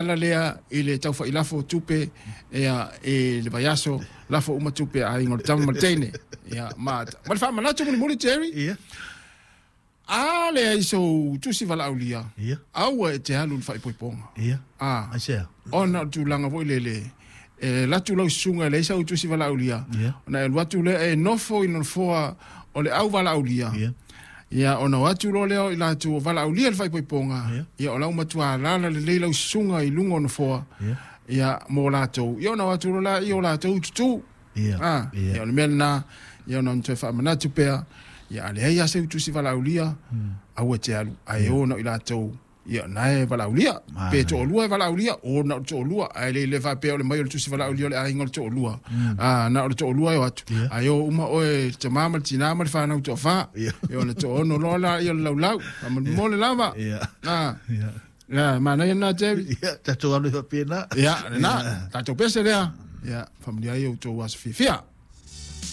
ala lea i le taufailafo o tupe ia, i le vaiaso, lafo uma tupe a aiga o le tama ma le teine. Ia, ma, ma le faamanatu mulimuli Jerry, Ia. a leai sou tusi valaaulia, Ia. aua e te alu i le faaipoipoga. Ia. Ah, Aisea? ona o le tulaga foi lele, e alu atu lau susuga e leai sau tusi valaaulia, Ia. ona e alu atu lea e nofo i le nofoa o le au valaaulia. Ia. Ia, ona o atu loa lea o i latou o valaaulia le faaipoipoga, Ia. ia, o la ua matua alaala lelei lau susuga i luga o nofoa, Ia. ia, mo latou. Ia, ona o atu loa lea o latou tutū. Ia. Ah, Ia. ia, o le mea lena, ia, ona toe faamanatu pea, ia, a leai lava seu tusi valaaulia, aua e te alu, ae o na o i latou, ia, na e valaaulia. Pe toalua e valaaulia, o na o le toalua, ae le le faapea o le mai o le tusi valaaulia o le aiga o le toalua. Ah, na o le toalua e o atu, ae o uma oe le tamā ma le tinā ma le fanau toafa. Ia. Ia, ona toaono loa lea o le laulau, faamolemole lava. Ia. Ah, Ia. ia, manaia lena Jerry. Ia, tatou alu ai faapena. Ia, lena, tatou pese lea. Ia, faamanuia ai outou aso fiafia.